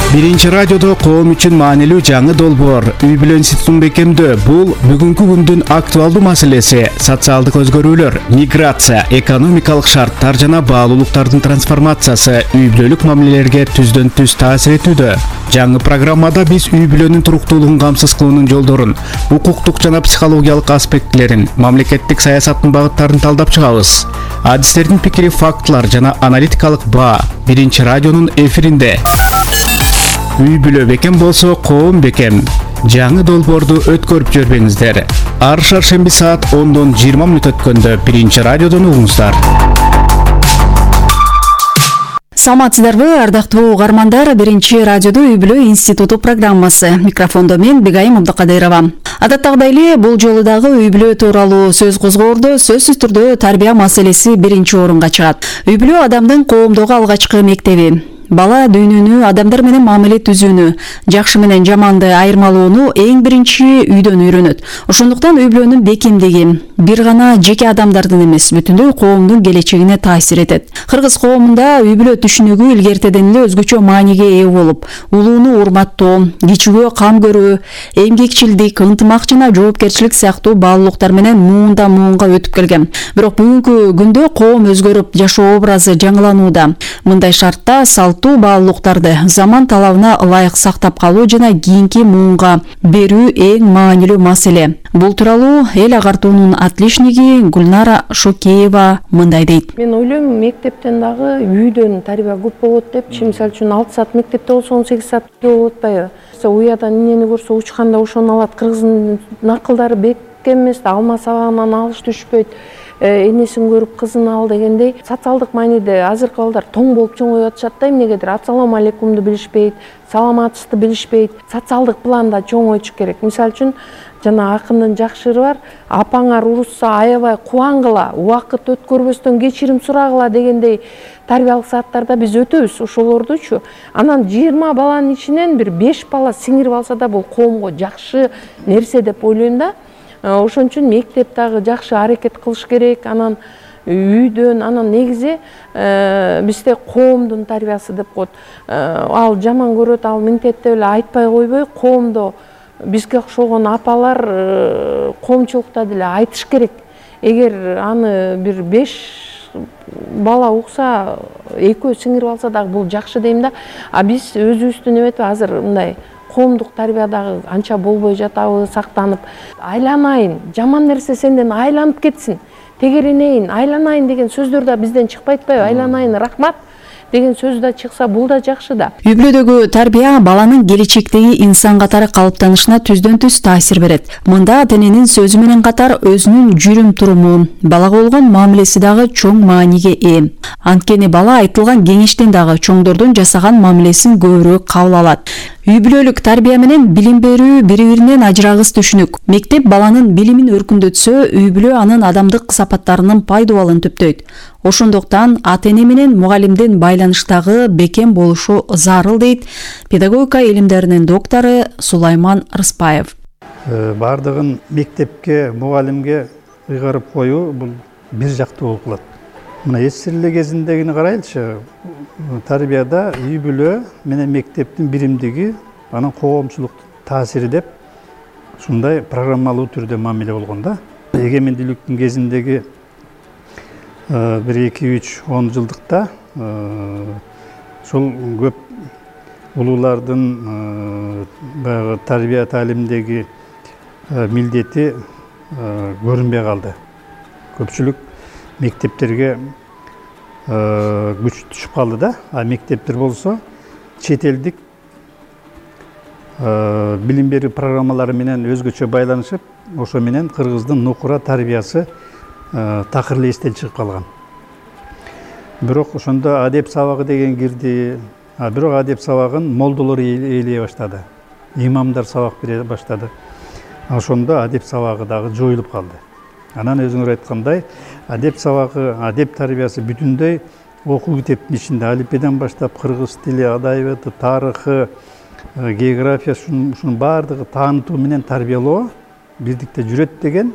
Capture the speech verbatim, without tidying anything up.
Биринчи радиодо коом үчүн маанилүү жаңы долбоор үй бүлө институтун бекемдөө. Бул бүгүнкү күндүн актуалдуу маселеси. Социалдык өзгөрүүлөр, миграция, экономикалык шарттар жана баалуулуктардын трансформациясы үй бүлөлүк мамилелерге түздөн түз таасир этүүдө. Жаңы программада биз үй бүлөнүн туруктуулугун камсыз кылуунун жолдорун, укуктук жана психологиялык аспектилерин, мамлекеттик саясаттын багыттарын талдап чыгабыз. Адистердин пикири, фактылар жана аналитикалык баа Биринчи радионун эфиринде. Үй бүлө бекем болсо, коом бекем. Жаңы долбоорду өткөрүп жибербеңиздер. Ар шаршемби саат ондон жыйырма мүнөт өткөндө Биринчи радиодон угуңуздар. Саламатсыздарбы, ардактуу угармандар? Биринчи радиодо үй бүлө институту программасы. Микрофондо мен Бегайым Абдыкадырова. Адаттагыдай эле бул жолу дагы үй бүлө тууралуу сөз козгоордо сөзсүз түрдө тарбия маселеси биринчи орунга чыгат. Үй бүлө адамдын коомдогу алгачкы мектеби. Бала дүйнөнү, адамдар менен мамиле түзүүнү, жакшы менен жаманды айырмалоону эң биринчи үйдөн үйрөнөт. Ошондуктан үй бүлөнүн бекемдиги бир гана жеке адамдардын эмес, бүтүндөй коомдун келечегине таасир этет. Кыргыз коомунда үй бүлө түшүнүгү илгертеден эле өзгөчө мааниге ээ болуп, улууну урматтоо, кичүүгө кам көрүү, эмгекчилдик, ынтымак жана жоопкерчилик сыяктуу баалуулуктар менен муунда муунга өтүп келген. Бирок бүгүнкү күндө коом өзгөрүп, жашоо образы жаңыланууда. Мындай шартта салтуу баалуулуктарды заман талабына ылайык сактап калуу жана кийинки муунга берүү эң маанилүү маселе. Бул тууралуу эл агартуунун отличниги Гүлнара Шокеева мындай дейт. Мен ойлойм, мектептен дагы үйдөн тарбия көп болот депчи. Мисалы үчүн алты саат мектепте болсо он сегиз саат болот атпайбы? Уядан эмнени көрсө учканда ошону алат. Кыргыздын накылдары бекем эмес, алма сабагынан алыш түшпөйт. Энесин көрүп кызын ал дегендей социалдык мааниде азыркы балдар тоң болуп чоңоюп атышат да, эмнегедир ассалам алейкумду билишпейт, саламатсызды билишпейт. Социалдык планда чоңоючу керек. Мисалы үчүн жана акындын жакшы ыры бар, апаңар урушса аябай кубангыла, убакыт өткөрбөстөн кечирим сурагыла дегендей тарбиялык сааттарда биз өтөбүз ошолордучу. Анан жыйырма баланын ичинен бир беш бала сиңирип алса да бул коомго жакшы нерсе деп ойлойм да. Ошон үчүн мектеп дагы жакшы аракет кылыш керек. Анан үйдөн, анан негизи бизде коомдун тарбиясы деп коет. Ал жаман көрөт, ал мынтетип эле айтпай койбой, коомдо бизге окшогон апалар коомчулукта деле айтыш керек. Эгер аны бир беш бала укса, экөө сиңирип алса дагы бул жакшы дейм да. А биз өзүбүздүн эметип азыр мындай коомдук тарбиядагы анча болбой жатабы, сактанып, айланайын, жаман нерсе сенден айланып кетсин, тегеренейин, айланайын деген сөздөр да бизден чыкпайт атпайбы? Айланайын, рахмат деген сөз да чыкса, бул да жакшы да. Үй бүлөдөгү тарбия баланын келечектеги инсан катары калыптанышына түздөн түз таасир берет. Мында ата-эненин сөзү менен катар өзүнүн жүрүм туруму, балага болгон мамилеси дагы чоң мааниге ээ. Анткени бала айтылган кеңештен дагы чоңдордун жасаган мамилесин көбүрөөк кабыл алат. Үй бүлөлүк тарбия менен билим берүү бири-биринен ажырагыс түшүнүк. Мектеп баланын билимин өркүндөтсө, үй бүлө анын адамдык сапаттарынын пайдубалын түптөйт. Ошондуктан ата-эне менен мугалимдин байланыштагы бекем болушу зарыл дейт педагогика илимдеринин доктору Сулайман Рыспаев. Бардыгын мектепке, мугалимге ыйгарып коюу бул бир жактуу болуп калат. Мына эсирле кезиндегини карайлычы, тарбияда үй бүлө менен мектептин биримдиги, анан коомчулук таасири деп ушундай программалуу түрдө мамиле болгон да. Эгемендүүлүктүн кезиндеги бир эки үч он жылдыкта ушул көп улуулардын баягы тарбия таалимдеги милдети көрүнбөй калды. Көпчүлүк мектептерге күч түшүп калды да. А мектептер болсо чет элдик билим берүү программалары менен өзгөчө байланышып, ошо менен кыргыздын нукура тарбиясы такыр эле эстен чыгып калган. Бирок ошондо адеп сабагы деген кирди. А бирок адеп сабагын молдолор ээлей баштады. Имамдар сабак бере баштады. Ошондо адеп сабагы дагы жоюлуп калды. Анан өзүңөр айткандай, адеп сабагы, адеп тарбиясы бүтүндөй окуу китептин ичинде алифбеден баштап кыргыз тили, адабияты, тарыхы, география, ушунун баардыгы таанытуу менен тарбиялоо бирдикте жүрөт деген